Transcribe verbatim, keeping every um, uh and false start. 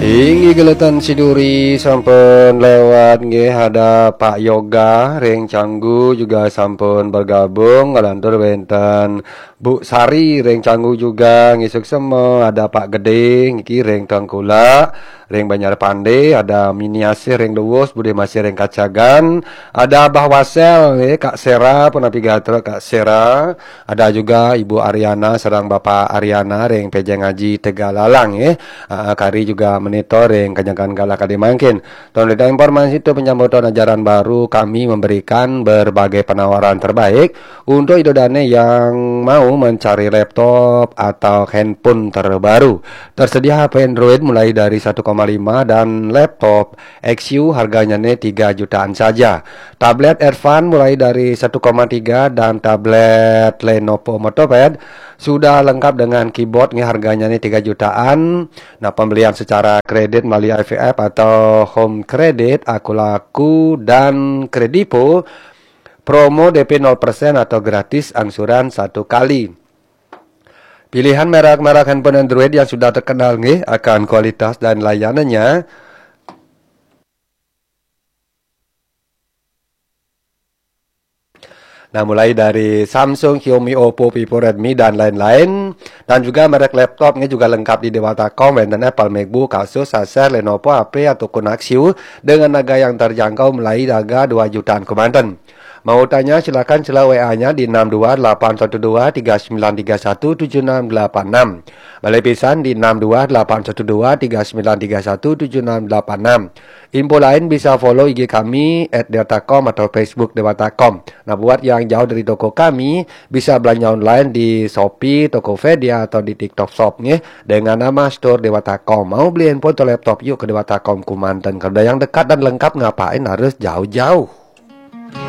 Inggih geletan siduri sampun lewat nggih, ada Pak Yoga ring Canggu juga sampun bergabung, ngelantur wenten Bu Sari ring Canggu juga ngisuk sema, ada Pak Gede niki ring Tengkulak, ring Banjar Pande, ada Miniasih ring Dewus, Bude Masih ring Kacagan, ada Abah Wasel nggih, Kak Sera, punapi gatra Kak Sera, ada juga Ibu Ariana sareng Bapak Ariana ring Pejeng Aji Tegalalang nggih. Ah, kari juga monitor ring kenyakan galah kadi mangkin. Tuan berita informasi tu penyambutan ajaran baru kami memberikan berbagai penawaran terbaik untuk ida dane yang mau mencari laptop atau handphone terbaru. Tersedia H P Android mulai dari satu koma lima dan laptop X U harganya ne tiga jutaan saja. Tablet Advan mulai dari satu koma tiga dan tablet Lenovo MotoPad sudah lengkap dengan keyboard nggih, harganya ne tiga jutaan. Nah, pembelian secara kredit melalui I V F atau Home Credit, Akulaku, dan Kredivo, promo D P nol persen atau gratis angsuran satu kali. Pilihan merek-merek handphone Android yang sudah terkenal nggih akan kualitas dan layanannya. Nah, mulai dari Samsung, Xiaomi, Oppo, Vivo, Redmi, dan lain-lain. Dan juga merek laptopnya juga lengkap di Dewata Com, wenten Apple, MacBook, Asus, Acer, Lenovo, H P, ataupun Axiu dengan harga yang terjangkau mulai harga dua jutaan kemanten. Mau tanya, silakan sila W A-nya di enam dua delapan satu dua tiga sembilan tiga satu tujuh enam delapan enam. Balik pisan di enam dua delapan satu dua tiga sembilan tiga satu tujuh enam delapan enam. Info lain bisa follow I G kami at dewatacom atau Facebook Dewatacom. Nah, buat yang jauh dari toko kami, bisa belanja online di Shopee, Tokopedia, atau di TikTok Shop nggih, dengan nama Store Dewatacom. Mau beli handphone atau laptop, yuk ke Dewatacom Kumanten. Kalau udah yang dekat dan lengkap, ngapain harus jauh-jauh?